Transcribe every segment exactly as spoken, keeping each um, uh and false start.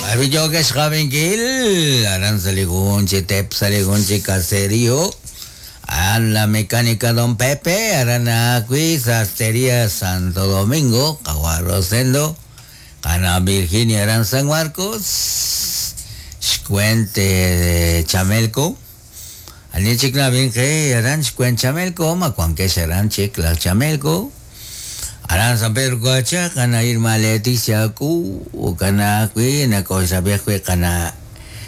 Arroyo Xavinkil, aran saligun chi tep saligun chi caserío, a la mecánica Don Pepe, Aranacui, Sastrería Santo Domingo, Caguarrosendo, Cana Virginia Aran San Marcos, Xcuente de Chamelco, Ani Vinge, Aran Xcuen Chamelco, Macuanque Aran Chicla Chamelco, Aran San Pedro Coacha, Cana Irma Leticia Cu, Cana Cui, Nacosa Viejo, Cana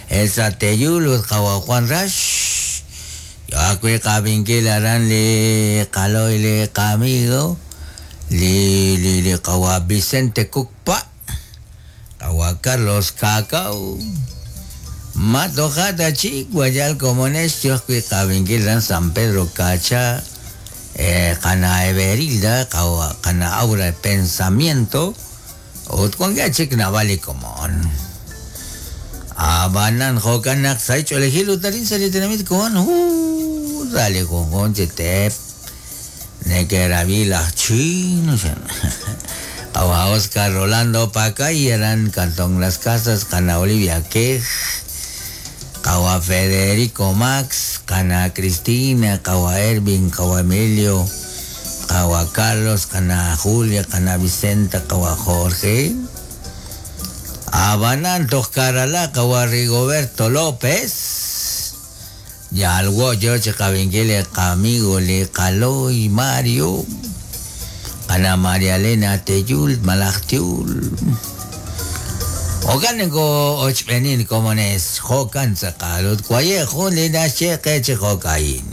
Elsa Teyul, Kawa Juan Rash, Yakui Kabinkil Aran Le Caloy Le Camigo, Li Li Li Kawa Vicente Cucpa, Kawa Carlos Cacao, Matojata Chic, Guayal Comones, Yosui Kabinkil Aran San Pedro Cacha, eh, Cana Everilda, Cana Aura de Pensamiento, Utcuanga Chic Navali Comón. Abanan Jokanak Saicho Elegilu Tarin Salitenamit con uh dale con con tep Nekeravila Chino Awa Oscar Rolando Pacay eran Cantón Las Casas Cana Olivia Quej Kawa Federico Max Cana Cristina Kawa Ervin Kawa Emilio Kawa Carlos Cana Julia Cana Vicenta Kawa Jorge Abanan Toscarala Kawa Rigoberto López Yalwo Yoche Cabinguele Camigo Le Caloy Mario Ana María Elena Teyul Malachtiul Okanenko ochpenin komones jokan tzakalut kuaye jun lina sheqe che jokain.